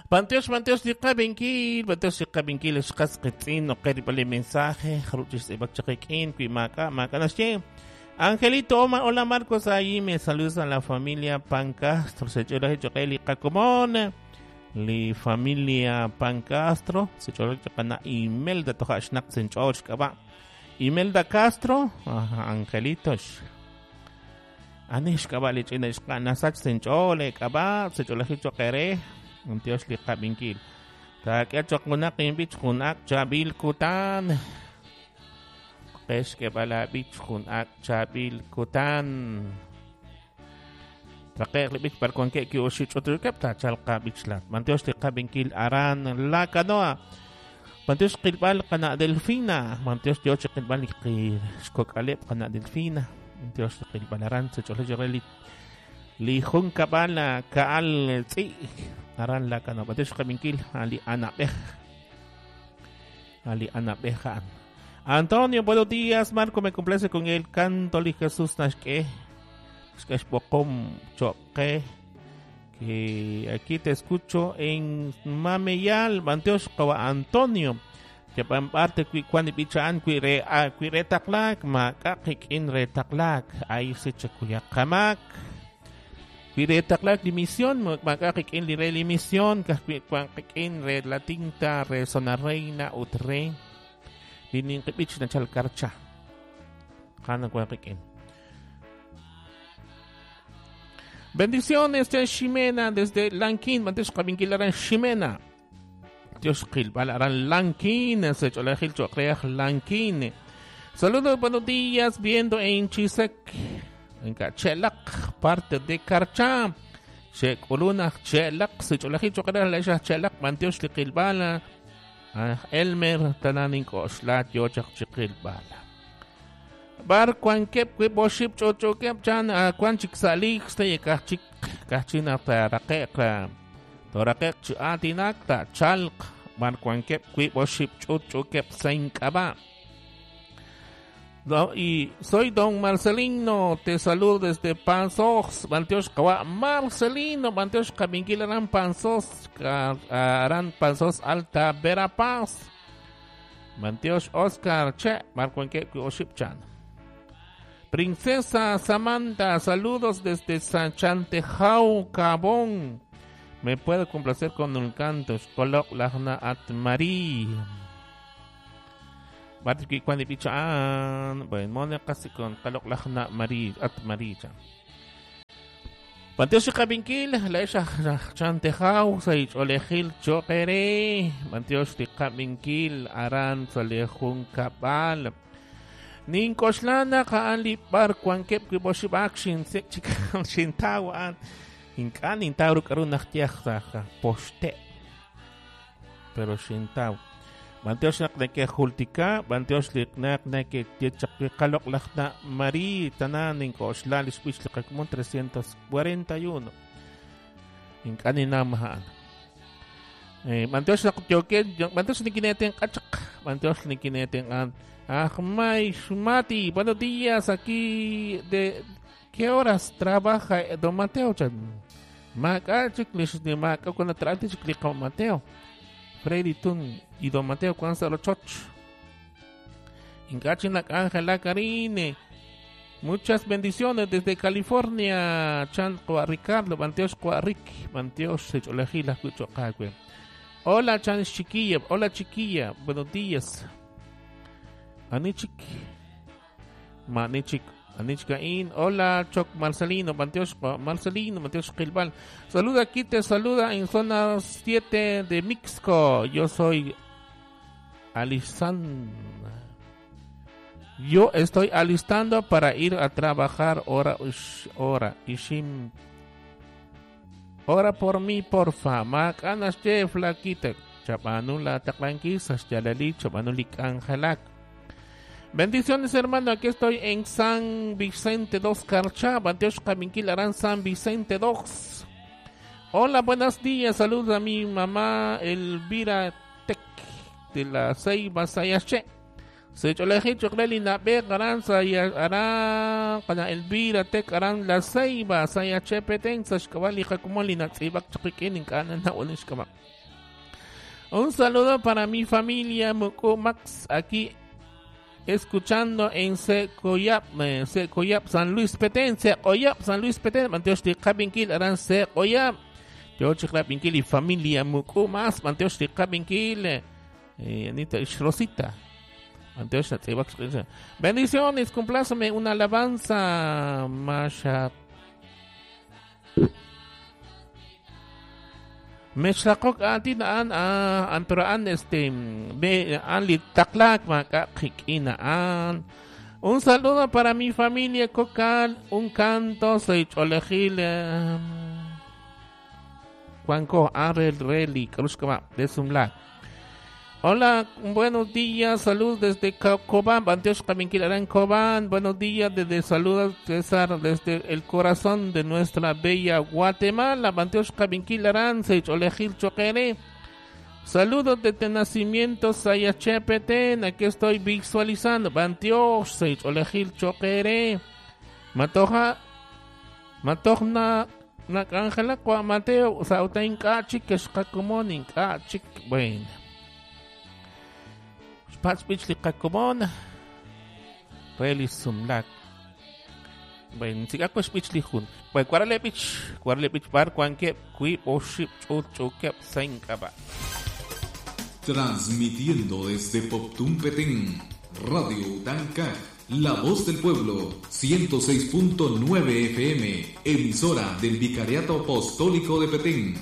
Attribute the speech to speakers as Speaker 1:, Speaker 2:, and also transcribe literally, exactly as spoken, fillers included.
Speaker 1: B'antiox, b'antiox li qab'inkil, b'antiox li qab'inkil xqas qitz'in noqe rib'al li mensaje, jaruch xtz'ib'ak chaq qik'in, wi maak'a, maak'a naxye. Angelito, hola Marcos, ahí me saludas a la familia Pancastro, se ch'olaje choqe li qakomon, li familia Pancastro, se ch'olaje choqana Imelda toja xnaq sench'och xk'ab'a. Imelda Castro, ajá, Angelito. Ani xk'ab'a li ch'ina xqa nasach sench'ole k'ab'a, se ch'olaje choqere. B'antiox li qab'inkil. Taak'e choq junaq inb'ich jun ak' chaab'il kutan. Qex k'eb'al aab'ich jun ak' chaab'il kutan. Traqe'q li b'ich par wankeb' ki oxib' ch'utlukeb' taachalq qab'ich laat. B'antiox li qab'inkil aran La Canoa. B'antiox qilb'al qana' Delfina. B'antiox yoo chi qilb'al li xkok'aleb' qana' Delfina. B'antiox li qilb'al aran se ch'olej li li jun kab'al ka'al tz'i'. Aran La Canoa. B'antiox qab'inkil ali Anabej. Ali Anabeja. Antonio, buenos días. Marco, me complace con el canto li Jesús naxk'e. Xk'e xb'oqom choqe. Que aquí te escucho en Mameyal. B'antiox qawa Antonio. Que parte kwi kwan b'ichaan kwi re a kwi re taqlak maak'a qik'in re taqlak. Ahí se chakuya qamak. Kwi re taqlak li misión, maak'a qik'in li re li misión, kwi kwan qik'in re la tinta, re zona reina, ut re li ninqib'ich nachal karcha. Jana kwan qik'in. Bendiciones, Chan Ximena, desde Lanquín, B'antiox qab'inkil aran Ximena. Dios qilb'al aran Lanquín, se ch'olajil choqreaj Lanquín. Saludos, buenos días, viendo en Chisec. En Chelak, parte de Karcha. Che kuluna Chelak, se ch'olajil choqreaj la xa Chelak, b'antiox li qilb'ala. Elmer tananin k'oxlat yo chaq chiqilb'ala. Bar kwan keb kwi boship ch'och'okeb chan kwan chik salik stay kachik kachina taraqeq toraqeq chi atinak ta chalq bar kwan keb kwi boship ch'och'okeb sain k'ab'a. Y soy don Marcelino, te saludo desde Panzós, b'antiox qawa Marcelino, b'antiox qab'inkil aran Panzós, aran Panzós Alta Verapaz. B'antiox Oscar Che, Marcuenque Oship Chan. Princesa Samantha, saludos desde San Chantejau, Cabón. Me puedo complacer con un canto, Xkolok Lajna at Marí. Batiki cuando pichaan, bueno, mona casi con kalok lajna Marí at María. B'antiox qab'inkil, la esa chantejau, saich olejil choqere. B'antiox qab'inkil, aran salejun kabal. Ninkoxlana kaan li bar kuankep kiboshibak shin sek chikan shintawan. Inkan intauru karun nachtiaj poste. Pero shintaw. B'antiox naq neke jultika, b'antiox liqnaq neke yechaqi qalok lajna Marí tanan ninkoxla lixb'ix liqakmun trescientos cuarenta y uno. Ink'an inamahaan. Eh, b'antiox naq yoken, b'antiox nikineten qachaq, b'antiox nikineten an. Ajmay Shumati, buenos días, aquí de ¿qué horas trabaja don Mateo chan? Maak'a chik lix ni maak'a cuando trate chik liqa Mateo. Freddy Tun y don Mateo Cuanza Lochoch. Incachinak Ángela Karine. Muchas bendiciones desde California. Chan Ricardo, B'antiox Rick, B'antiox Secholejila Cuchocagüe. Hola Chan Chiquilla, hola Chiquilla, buenos días. Anichik, Manichik, Anichkain, hola Choc Marcelino, B'antiox Marcelino, B'antiox Gilbal. Saluda aquí, te saluda en zona siete de Mixco. Yo soy Alisan. Yo estoy alistando para ir a trabajar hora, hora, ishim. Ora por mí, porfa. Macanas che flaquita. Chapanula taqlanquisas, yalali, chapanulik angelak. Bendiciones, hermano. Aquí estoy en San Vicente dos Carchá. B'antiox qab'inkil aran San Vicente dos. Hola, buenos días. Saludos a mi mamá Elvira Tec de la Ceiba Sayache. Sech'olejil choq' re li na'b'ej aran sa aran qana Elvira Tek aran La Ceiba Sayachepeten sa xk'ab'a' li qakomon li natz'iib'ak chaq qik'in ink'a' nanawal xk'ab'a'. Un saludo para mi familia Muku Max aquí escuchando en Secoyap, Secoyap, San Luis Petén, Secoyap, San Luis Petén, Manteox Tiqabinkil, aran Secoyap, Teox Tiqabinkil y familia Muku Max, Manteox Tiqabinkil, eh, Anita Rosita. Bendiciones, complázame una alabanza, Masha. Mesakok atin an an pero an este be an litaklak makakikinaan. Un saludo para mi familia Cocal, un canto seicholejil Juanco Arel Reli Krushkama de Sumla. Hola, buenos días, saludos desde Cobán, Banteosh Kaminkil Arán Cobán, buenos días desde saludos César desde el corazón de nuestra bella Guatemala, Banteosh Kaminkil Arán, Seicholejil Choquere. Saludos desde Nacimiento Sayachepeten, aquí estoy visualizando, Banteosh Seicholejil Choquere. Matoja, Matojna, Nakangela, Kwa Mateo, Sautain Kachik, Keshkakumonin Kachik, bueno. Patspich li qakomon reli sumlak. Bueno, si ako spich li jun. Bueno, cuarale pich, cuarale pich bar cuanque kui oship chut chukep senkaba.
Speaker 2: Transmitiendo desde Poptún Petén, Radio Utanca, La Voz del Pueblo, ciento seis punto nueve F M, emisora del Vicariato Apostólico de Petén.